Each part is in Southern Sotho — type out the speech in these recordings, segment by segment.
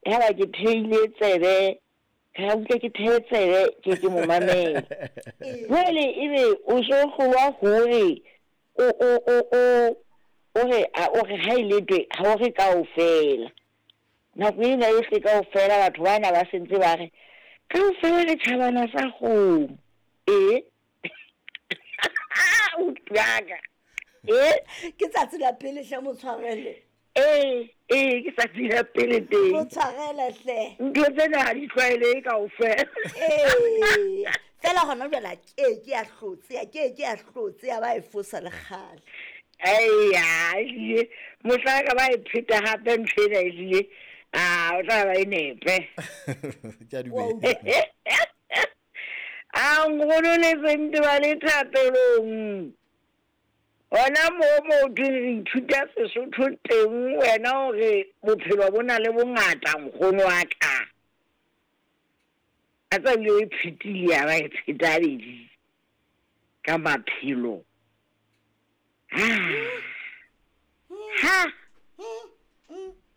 Yaba ke theile tsebe, ka utlwa ke thee tsebe ke ke mo mamela. Jwale ebe o so hlolwa hore o o o o o re a o re ha e letwe ha o re kaofela. Nako ena yohle kaofela batho bana ba sentse ba re kaofela re tjhabana sa kgomo. Ee. Utlwaka. Ee. Ke tsatsi la pele hle motshwarele. Ee, ee, ke tsatsi la pele teng. Motshwarele hle. Ntho tsena ha di tlwaelehe kaofela. Ee. Fela gona jwale a ke ke a hlotse, a ke ke a hlotse a ba e fosa le kgale. Eya, ehlile mohla ka ba e pheta hape ntho ena ehlile a o tla ba e nepe. Ke a dumela. A nkgono le sente ba le thapelong. Hona moo mo thweng re ithuta Sesotho teng wena hore bophelo bo na le bongata nkgono wa ka. A tsa bile o e phetile ya ba e pheta habedi ka maphelo. Ha. Ha.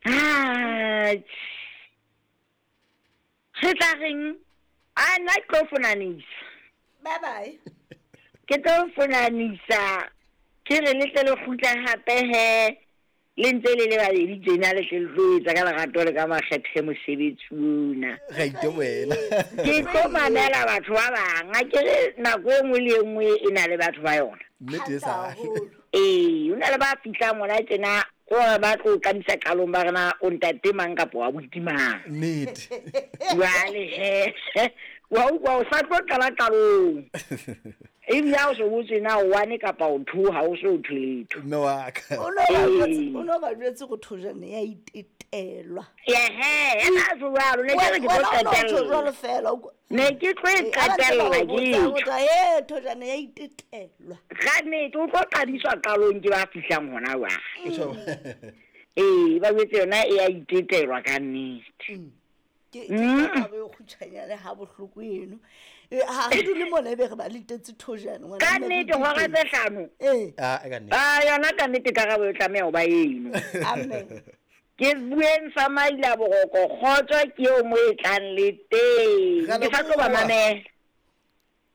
Ha. Re tla reng? A nna ke tlo fonanisa. Bye bye. Ke tlo fonanisa. Ke re le tle le kgutle hape he le ntse le le babedi tjena le tle le tlo etsa ka lerato le ka makgethe mosebetsi ona. Re itoela. Ke tlo mamela batho ba bang. A ke re nako e nngwe le e nngwe e na le batho ba yona. Nnete e sa. Ee, o na le ba fihlang hona tjena gore ba tlo qadisa qalong ba re na o ntate mang kapa wa buti mang. Nnete. Jwale he, wa utlwa o sa tlo qala qalong. Ebile ha o so botse na o one kapa o two, ha o so thwe letho. Mme wa ka. O no ba jwetse, o no ba jwetse go thojane ya itetelwa. Ehe, ya ka so jwalo, ne ke re ke tlo Wena o no tjho qetella. jwalo fela, o kwa- Ne ke tlo e Eh, ha ba ntse ba qetella o ke botsa, o tjho. tla, "Eh, thojane ya itetelwa." Ka nnete o tlo qadiswa qalong ke ba fihlang hona jwale. Ee, ba jwetse yona e a itetelwa ka nnete. Ke ke taba e kgutshwanyane ha bohloko eno. Ha re dule mona ebe re ba letetse thojane ngwana Ka mme nnete re hora diteng. tse hlano. Ee. Ah, ka nnete. Ah, yona ka nnete karabo e tlameha ho ba eno. Amen. Ke bueng sa maila boroko kgotso ke eo mo e tlang le teng. Re a Ke sa tlo ba leboha. mamela.